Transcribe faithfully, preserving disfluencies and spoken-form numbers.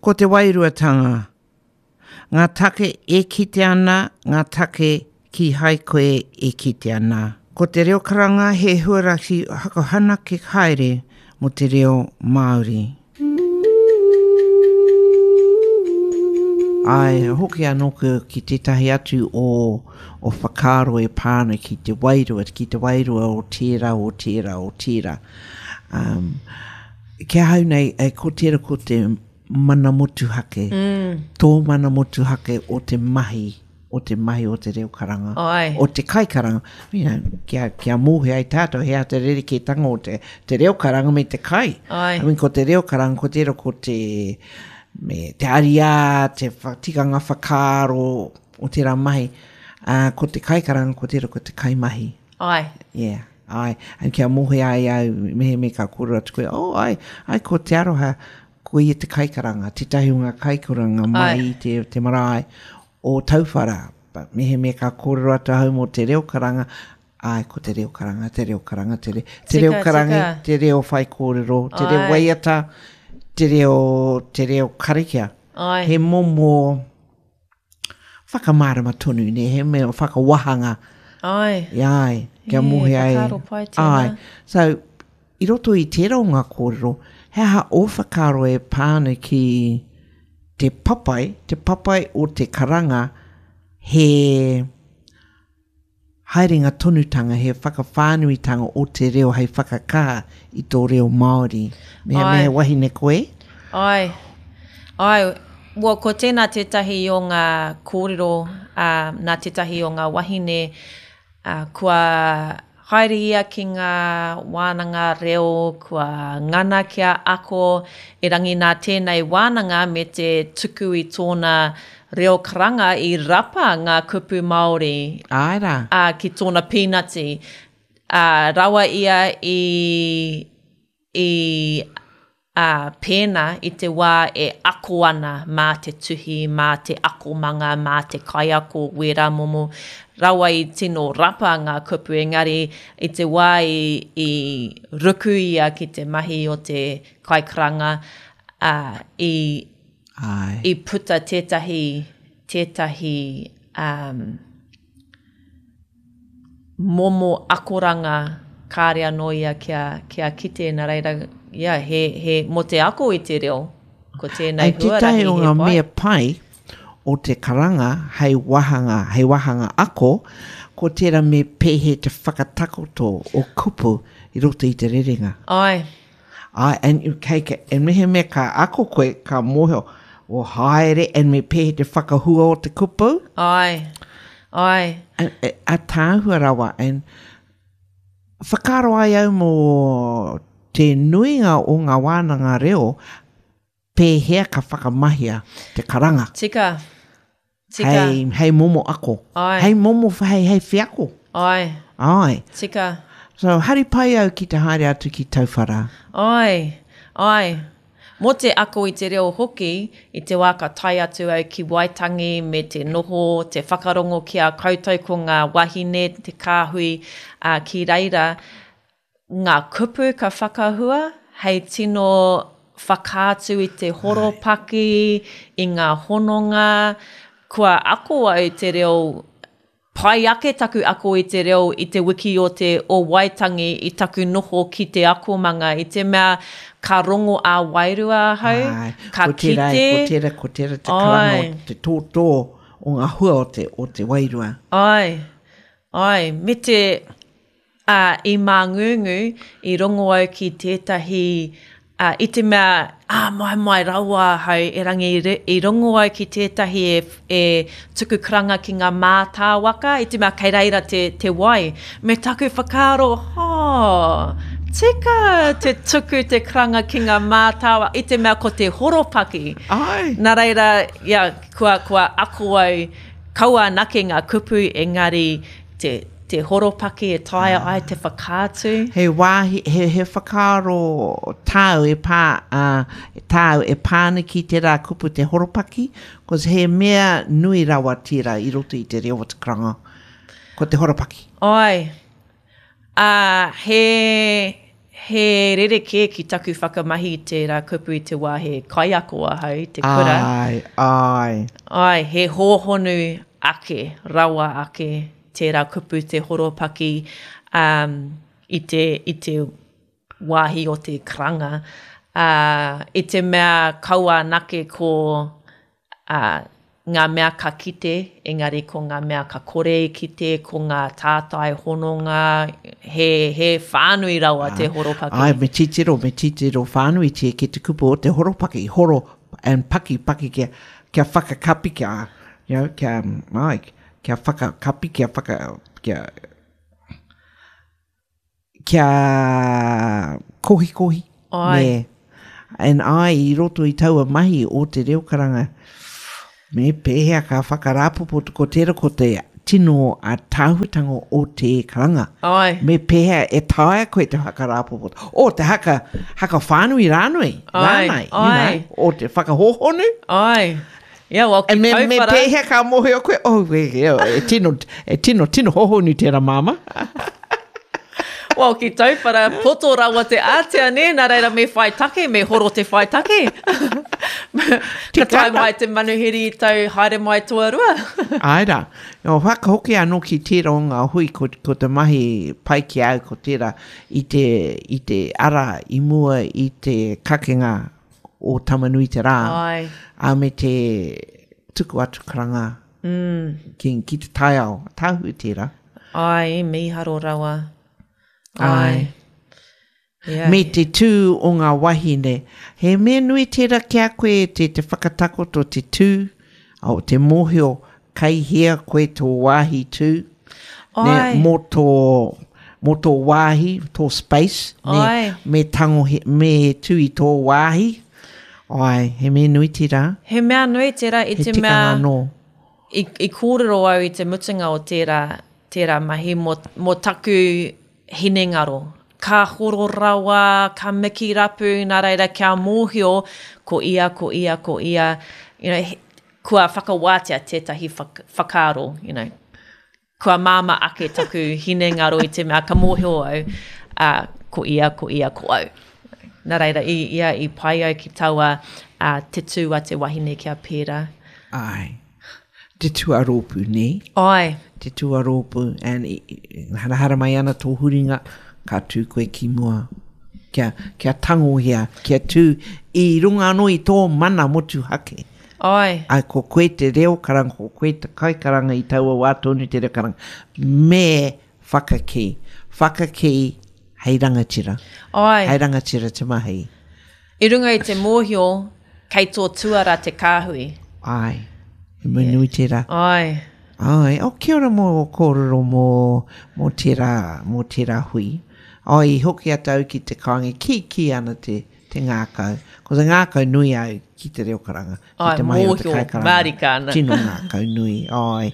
Ko te wairuatanga. Ngā take e kite ana, ngā take kīhai koe e kite ana. Ko te reo karanga he huarahi whakahanake haere mō te reo Māori. Ai, hoki anō ki tētahi atu o, o whakaaro e pā ana ki te wairua, ki te wairua o tērā, o tērā, o tērā. Um, ki ahau nei, e, ko tērā ko te mana motuhake, mm. tō mana motuhake o te mahi, o te mahi o te reo karanga, Ai. o te kaikaranga. You know, kia, kia mōhio ai tātou, he aha te rerekētanga o te, te reo karanga me te kai. Ai. I mean, ko te reo karanga, ko tērā ko te, me te ariā, te wha, tikanga whakaaro o tērā mahi. Uh, ko te kaikaranga, ko tērā ko te kaimahi. Ai. Yeah, ai. And kia mōhio ai au, mehemea ka kōrero atu koe, oh, ai, ai ko Te Aroha, ko ia te kaikaranga, tētahi o ngā kaikaranga mai Ai. i te, te marae o Tauwhara. But mehemea ka kōrero atu ahau mō te reo karanga, ai, ko te reo karanga, te reo karanga, te, re, te reo Tika, karanga, tika. te reo whaikōrero, te reo Ai. waiata, te reo, te reo karakia. Ai. He momo whakamārama tonu, ne? He mea whakawahanga. Ai. Ai, kia Yeah, mōhio ai. whakaaro pai tēnā. Ai. So, i roto i tērā o ngā kōrero, he aha ō whakaaro e pā ana ki te papai, te papai o te karanga, he haerenga tonutanga, he whakawhānuitanga o te reo hei whakakaha i tō reo Māori. Me, Ai. me he wahine koe? Ai. Ai. Well, ko tēnā tētahi o ngā kōrero, uh, nā tētahi o ngā wahine, uh, kua haere ia ki ngā wānanga reo, kua ngana kia ako, erangi nā tēnei wānanga me te tuku i tōna reo karanga i rapa ngā kupu Māori Ai rā. uh, ki tōna pīnati. Uh, rawa ia i, i uh, pēnā i te wā e ako ana mā te tuhi, mā te akomanga, mā te kaiako, wērā momo. Rawa i tino rapa ngā kupu, engari i te wā i, i ruku ia ki te mahi o te kaikaranga, uh, i, Ai. i puta tētahi, tētahi um, momo akoranga kāre anō ia kia, kia kite, nā reira, yeah, he, he, mō te ako i te reo, ko tēnei Ai, tētahi huarahi o he ngā pai. mea pai o te karanga hei wāhanga, hei wāhanga ako, ko tērā me pēhea te whakatakoto o kupu i roto i te rerenga. Ai, Ai, and, you- kei, kei, and mehemea ka ako koe, ka mōhio, o haere, and me pēhea te whakahua o te kupu, ai, ai, and, e, a tāhua rawa, and whakaaro ai au mō te nuinga o ngā wānanga reo, pēhea ka whakamahia te karanga. tika, tika, Hei, hei momo ako. Ai. Hei momo, hei, hei wheako. ai, Ai. tika, So, hari pai au ki te haere atu ki Tauwhara. ai, ai. Mō te ako i te reo hoki, i te wā ka tae atu au ki Waitangi me te noho, te whakarongo ki a koutou ko ngā wahine, te kāhui uh, ki reira, ngā kupu ka whakahua, hei tino whakaatu i te horopaki, i ngā hononga, kua ako au te reo pai ake taku ako i te reo i te wiki o te o Waitangi i taku noho ki te akomanga, i te mea ka rongo ā wairua ahau, Ai, ka ko tērā, kite. Ko tērā, ko tērā te karanga Ai. o te tōtō o ngā hua o te, o te wairua. Ai, ai, me te uh, i Māngūngū, i rongo au ki tētahi, uh, i te mea, ah, mai mai rawa ahau, erangi i, re- i rongo au ki tētahi e, e tuku karanga ki ngā mātāwaka, i te mea kei reira te, te wai. Me taku whakaaro, oh, tika te tuku te karanga ki ngā mātāwaka, i te mea ko te horopaki. Ai. Nā reira, ia, kua, kua ako au, kaua anake ngā kupu, engari te, te horopaki e taea ai te whakaatu. He wāhi, he, he whakaaro tāu e pā, uh, tāu e pā ana ki tērā kupu te horopaki, cause he mea nui rawa tērā i roto i te reo o te karanga, ko te horopaki. Ai, uh, he, He rerekē ki taku whakamahi i tērā kupu i te wā he kaiako ahau i te kura. Āe, āe. Āe, he hōhonu ake, rawa ake tērā kupu te horopaki um, i te, i te wāhi o te karanga. Uh, I te mea kaua anake ko uh, ngā mea ka kite, engari ko ngā mea ka kore i kite, ko ngā tātai hononga, he, he whānui rawa te horopaki. Ai, me titiro, me titiro whānuitia ki te kupu o te horopaki, horo and paki, paki kia, kia whakakapi, kia, you know, kia, ai, kia whakakapi, kia whaka, kia, kia kohikohi. Ai. Me, and ai, i roto i taua mahi o te reo karanga, me pēhea ka whakarāpopoto ko tērā ko te tino a tāhuatanga o te karanga. Ai. Me pēhea e taea koe te whakarāpopoto. O te haka, haka whānui rānui. Ai, Rānai, you ai. know, o te whakahōhonu. Ai. Yeah, well, ki And me, me Tauwhara. pēhea ka mōhio koe, oh, e, e, e tino, e tino, tino hōhonu tērā māma. Well, ki Tauwhara, poto rawa te ātea, nē, nā reira me whai take, me horo te whai take. Ka tae mai te manuhiri i tau haere mai tuarua. Ai rā. O whakahoki anō ki tērā o ngā hui ko, ko te mahi pai ki au ko tērā i te, i te ara i mua i te kakenga o Tamanui te rā. Ai. A me te tuku atu karanga mm. ki, ki te taiao. Tāhu tērā. Ai, mīharo rawa. Ai. Ai. Yeah. Me te tū o ngā wahine. He mea nui tērā ki a koe te, te whakatakoto te tū, o te mōhio kei hea koe tō wāhi tū. Ne, Ai. mō tō, mō tō wāhi, tō space. Ne, Ai. Me tango, he, me tū i tō wāhi. Ai, he mea nui tērā. He mea nui tērā i He te tikanga mea... anō. I, i kōrero au i te mutunga o tērā, tērā mahi mō, mō taku hinengaro. Ka horo rawa, ka miki rapu, nā reira kia mōhio, ko ia, ko ia, ko ia. You know, he, kua whakawātea tētahi whak, whakaaro, you know. Kua māma ake taku hinengaro i te mea ka mōhio au, uh, ko ia, ko ia, ko au. Nā reira, i, ia i pai au ki taua uh, te tū a te wahine kia pērā. Ai. Te tuarōpū, nē? Ai. Te tuarōpū, and i, i, harahara mai ana tō huringa, ka tū koe ki mua. Kia, kia tangohia, kia tū i runga anō i tō mana motuhake. Ai. Ai, ko koe te reo karanga, ko koe te kaikaranga i taua wā tonu te reo karanga. Me whakakī. Whakakī hei rangatira. Ai. Hei rangatira te mahi. I runga i te mōhio, kei tō tuara te kāhui. Ai. He mea nui tērā. Ai. Ai, o kia ora mō kōrero mō, mō tērā, mō tērā hui. Ai, i hoki atu au ki te kāinga, ki ki ana te, te ngākau. Ko te ngākau nui au ki te reo karanga. Ki Ai, te mahi o te mōhio, kaikaranga. mārika ana. Tino ngākau nui, ai.